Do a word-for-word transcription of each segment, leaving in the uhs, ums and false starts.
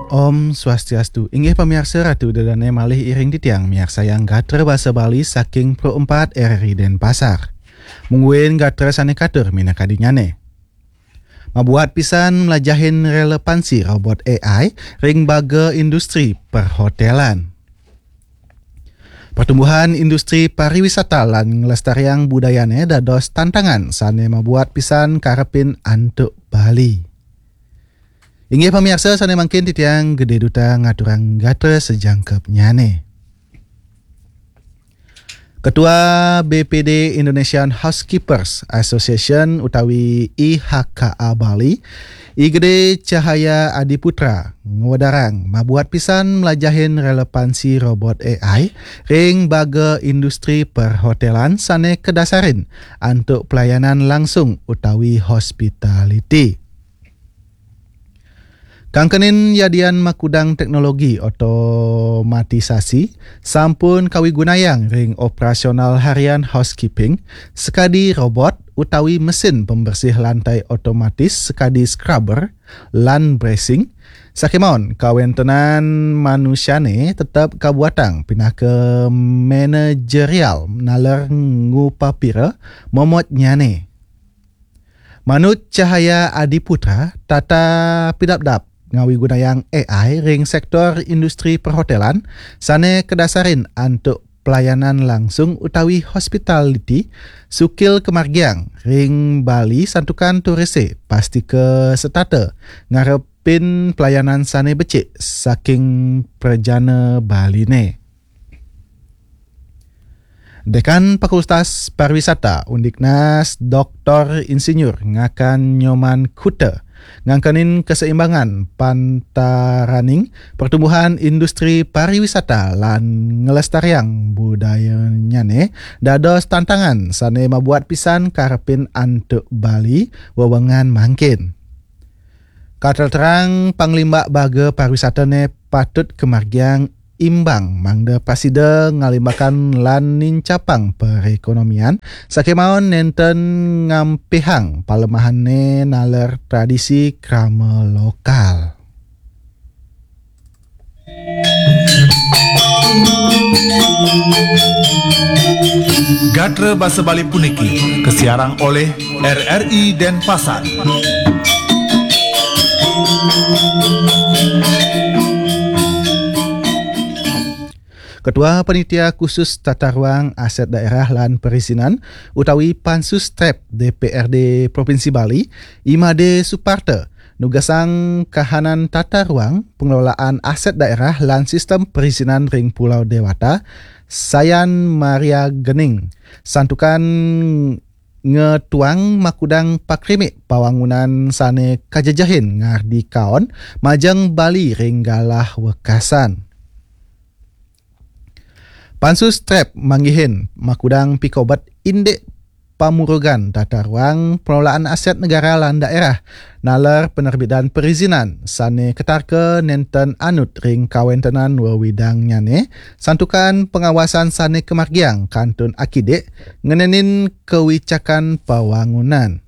Om Swastiastu. Inggih pamiarsa, Ratu Ida Dane malih iring titiang miarsayang gatra basa Bali saking Pro empat R R I Denpasar. Mungguing gatra sane katur minakadinyane. Mabuat pisan mlajahin relevansi robot A I ring baga industri perhotelan. Pertumbuhan industri pariwisata lan nglestariang budayane dados tantangan sane mabuat pisan karepin antuk Bali. Inggih pamiarsa, sane mangkin titiang Gede Duta ngaturang gatra sajangkepnyane. Ketua B P D Indonesian Housekeepers Association utawi I H K A Bali, I Gede Cahaya Adiputra ngwedarang mabuat pisan mlajahin relevansi robot A I ring baga industri perhotelan sane kadasarin antuk pelayanan langsung utawi hospitality. Kangkenin yadian makudang teknologi otomatisasi sampun kawigunayang ring operasional harian housekeeping, sekadi robot utawi mesin pembersih lantai otomatis sekadi scrubber lan bracing, sakemawon kawentenan manusiane tetep kabuatang pinaka manajerial naler ngupapira momotnyane. Manut Cahaya Adiputra, tata pidabdab ngawigunayang A I ring sektor industri perhotelan sane kadasarin antuk pelayanan langsung utawi hospitality sukil kamargiang ring Bali santukan turise pastika setata ngarepin pelayanan sane becik saking prajana Baline. Dekan Fakultas Pariwisata Undiknas Doktor Insinyur Ngakan Nyoman Kuta ngangkenin keseimbangan pantaraning pertumbuhan industri pariwisata lan nglestariang budayanyane dados tantangan sane mabuat pisan karepin antuk Bali wewengan mangkin. Katerterang panglimbak baga pariwisatane patut kamargiang imbang mangda prasida ngalimbakan lan nincapang perekonomian, sakemawon nenten ngampihang palemahane naler tradisi krama lokal. Gatra basa Bali puniki kasiarang oleh R R I Denpasar. Ketua Panitia Khusus Tata Ruang Aset Daerah lan Perizinan utawi Pansus trep D P R D Provinsi Bali, Imade Suparta, nugasang kahanan tata ruang, pengelolaan aset daerah lan sistem perizinan ring Pulau Dewata, Sayan Maria Gening, santukan ngetuang makudang pakrimik pawangunan sane kajejehin ngardi kaon majeng Bali ring galah wekasan. Pansus trep manggihin makudang pikobet indik pamurugan tata ruang pengelolaan aset negara lan daerah, naler penerbitan perizinan sane ketarka nenten anut ring kawentenan wewidangnyane, santukan pengawasan sane kamargiang kantun akidik ngenenin kawicakan pawangunan.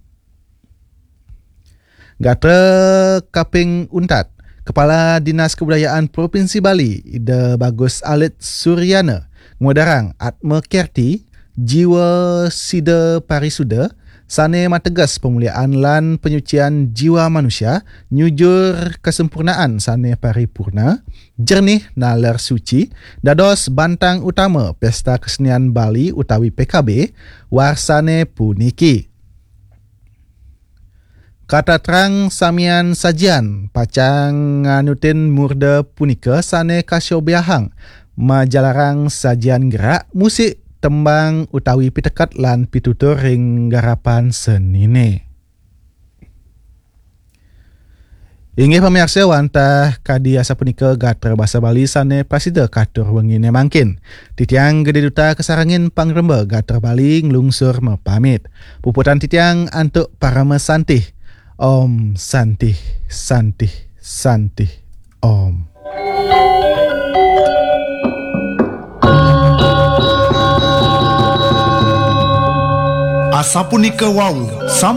Gatra kaping untat, Kepala Dinas Kebudayaan Provinsi Bali, Ida Bagus Alit Suryana, ngwedarang Atma Kerti, jiwa sida parisuda, sane mateges pemuliaan lan penyucian jiwa manusia, nyujur kesempurnaan sane paripurna, jernih naler suci, dados bantang utama Pesta Kesenian Bali utawi P K B, warsane puniki. Katatrang samian sajian pacang nganutin murda punika sane kasobiahang majalarang sajian gerak, musik, tembang utawi piteket lan pitutur ring garapan senine. Inggih pamiarsa, wantah kadi asapunika gatra basa Bali sane prasida katur wengine mangkin. Titiang Gede Duta kasarengin pangremba gatra Bali nglungsur mapamit. Puputang titiang antuk parama santih. Om Santih, Santih, Santih, Om. Asapunika wau, sam-